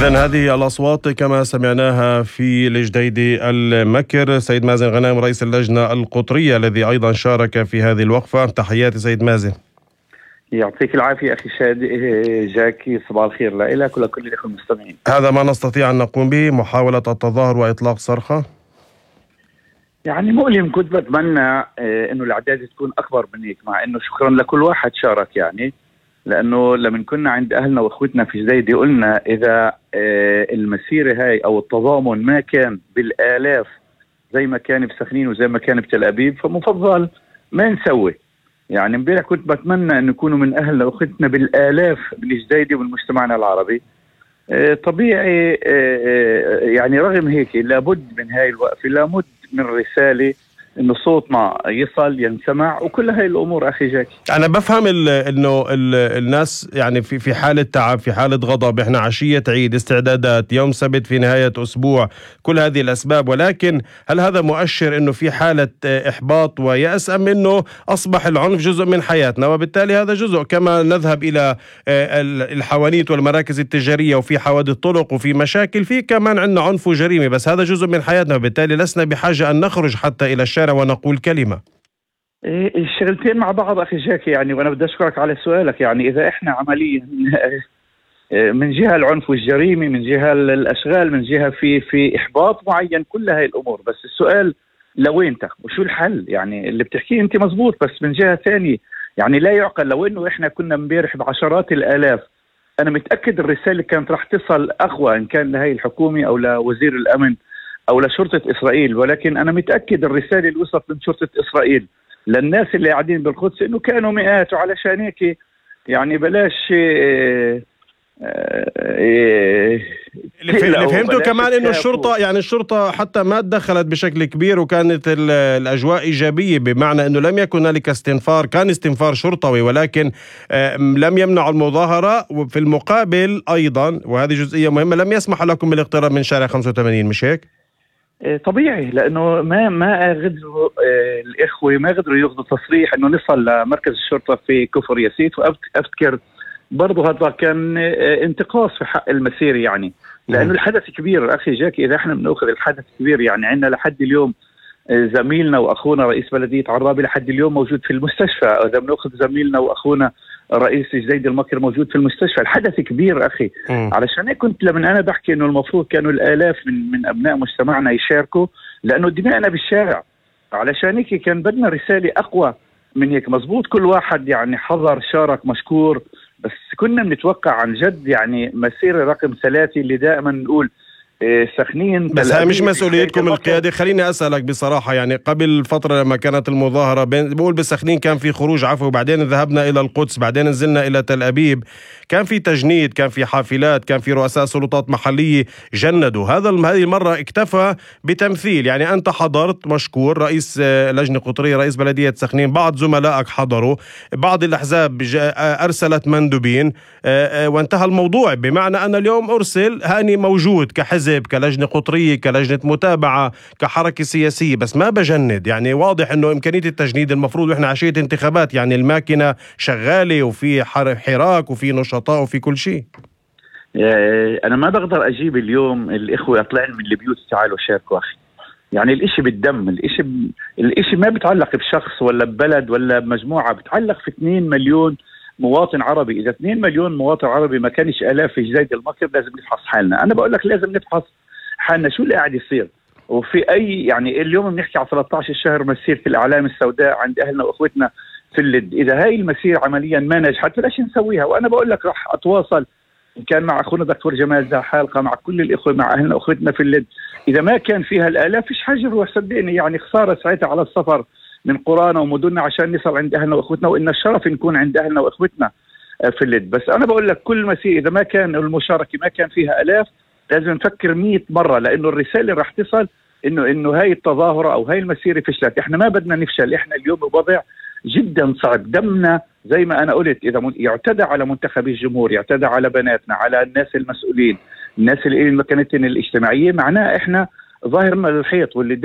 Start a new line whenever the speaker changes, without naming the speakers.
إذن هذه الأصوات كما سمعناها في الجديدي المكر. سيد مازن غنائم رئيس اللجنة القطرية الذي أيضا شارك في هذه الوقفة. تحياتي سيد مازن.
يعطيك العافية أخي جاكي، صباح الخير لك ولكل الأخوة المستمعين.
هذا ما نستطيع أن نقوم به، محاولة التظاهر وإطلاق صرخة.
يعني مؤلم، كنت بتمنى إنه الأعداد تكون أكبر من هيك، مع إنه شكرا لكل واحد شارك، يعني لأنه لما كنا عند أهلنا وأخوتنا في جديدي قلنا إذا المسيرة هاي أو التضامن ما كان بالآلاف زي ما كان بسخنين وزي ما كان بتل أبيب فمفضل ما نسوي. يعني امبارح كنت بتمنى أن يكونوا من أهلنا وأخوتنا بالآلاف بالجديدي ومجتمعنا العربي. طبيعي يعني رغم هيك لابد من هاي الوقفة، لابد من رسالة انه صوتنا يصل ينسمع وكل هاي الامور. اخي جاكي
انا بفهم انه الناس يعني في حاله تعب، في حاله غضب، احنا عشيه عيد، استعدادات، يوم سبت، في نهايه اسبوع، كل هذه الاسباب، ولكن هل هذا مؤشر انه في حاله احباط ويأس، ام انه اصبح العنف جزء من حياتنا وبالتالي هذا جزء كما نذهب الى الحوانيت والمراكز التجاريه وفي حوادث طرق وفي مشاكل، في كمان عندنا عنف وجريمه، بس هذا جزء من حياتنا وبالتالي لسنا بحاجه ان نخرج حتى الى الشارع ونقول كلمة.
الشغلتين مع بعض أخي جاكي، يعني وأنا بدي أشكرك على سؤالك. يعني إذا إحنا عمليا من جهة العنف والجريمة، من جهة الأشغال، من جهة في إحباط معين، كل هاي الأمور، بس السؤال لوين وشو الحل؟ يعني اللي بتحكيه أنت مزبوط، بس من جهة ثانية يعني لا يعقل لو إنه إحنا كنا امبارح بعشرات الآلاف. أنا متأكد الرسالة كانت راح تصل أقوى إن كان لهي الحكومة أو لوزير الأمن أو لشرطة إسرائيل، ولكن أنا متأكد الرسالة اللي وصلت من شرطة إسرائيل للناس اللي قاعدين بالقدس إنه كانوا مئات، وعلشان هيك يعني بلاش
اللي فهمته كمان إنه الشرطة، يعني الشرطة حتى ما تدخلت بشكل كبير وكانت الأجواء إيجابية، بمعنى إنه لم يكن هنالك استنفار، كان استنفار شرطوي ولكن لم يمنع المظاهرة، وفي المقابل أيضا وهذه جزئية مهمة لم يسمح لكم بالاقتراب من شارع 85، مش هيك؟
طبيعي، لانه ما قدروا الاخوه ما قدروا ياخذوا تصريح انه نصل لمركز الشرطه في كفر ياسيت، وافتكر برضه هذا كان انتقاص في حق المسير، يعني لانه الحدث كبير. اخي جاكي اذا احنا بناخذ الحدث كبير، يعني عندنا لحد اليوم زميلنا واخونا رئيس بلديه عرابي لحد اليوم موجود في المستشفى، اذا بناخذ زميلنا واخونا رئيس جديد المكر موجود في المستشفى. الحدث كبير اخي. علشان هيك كنت لما انا بحكي انه المفروض كانوا الالاف من ابناء مجتمعنا يشاركوا، لانه دماءنا بالشارع. علشان هيك كان بدنا رساله اقوى من هيك. مزبوط كل واحد يعني حضر شارك مشكور، بس كنا بنتوقع عن جد يعني مسيره رقم 3 اللي دائما نقول سخنين.
بس هاي مش مسؤوليتكم القيادة. خليني أسألك بصراحة، يعني قبل فترة لما كانت المظاهرة بقول بسخنين كان في خروج عفوي، بعدين ذهبنا إلى القدس، بعدين نزلنا إلى تل أبيب، كان في تجنيد، كان في حافلات، كان في رؤساء سلطات محلية جندوا. هذه المرة اكتفى بتمثيل، يعني أنت حضرت مشكور، رئيس لجنة قطرية، رئيس بلدية سخنين، بعض زملائك حضروا، بعض الأحزاب أرسلت مندوبين وانتهى الموضوع. بمعنى أن اليوم أرسل هاني موجود كحزب، كلجنة قطرية، كلجنة متابعة، كحركة سياسية، بس ما بجند. يعني واضح انه امكانية التجنيد المفروض، واحنا عشية انتخابات، يعني الماكينة شغالة وفي حراك وفي نشطاء وفي كل شيء.
انا ما بقدر اجيب اليوم الاخوة طلعن من البيوت تعالوا شاركوا. اخي يعني الاشي بالدم، الاشي ما بتعلق بشخص ولا ببلد ولا بمجموعة، بتعلق في 2 مليون مواطن عربي. إذا 2 مليون مواطن عربي ما كانش آلاف في جديد المكر، لازم نفحص حالنا. أنا بقول لك لازم نفحص حالنا شو اللي قاعد يصير. وفي أي يعني اليوم بنحكي على 13 الشهر مسيرة الأعلام السوداء عند أهلنا وأخوتنا في اللد. إذا هاي المسيرة عمليا ما نجحت فلاش نسويها. وأنا بقول لك راح أتواصل إن كان مع أخونا دكتور جمال ذا حلقة، مع كل الإخوة، مع أهلنا وأخوتنا في اللد. إذا ما كان فيها الآلاف فيش حاجة نروح، صدقني يعني خسارة ساعتها على السفر من قرانا ومدننا عشان نصل عند أهلنا وأخوتنا، وإن الشرف نكون عند أهلنا وأخوتنا في اللد. بس أنا بقول لك كل مسيرة إذا ما كان المشاركة ما كان فيها آلاف لازم نفكر 100 مرة، لأنه الرسالة رح تصل إنه هاي التظاهرة أو هاي المسيرة فشلت. إحنا ما بدنا نفشل. إحنا اليوم بوضع جدا صعب. دمنا زي ما أنا قلت، إذا يعتدى على منتخبي الجمهور، يعتدى على بناتنا، على الناس المسؤولين، الناس اللي مكانتهم الاجتماعية، معناه إحنا ظاهرنا للحيط. واللي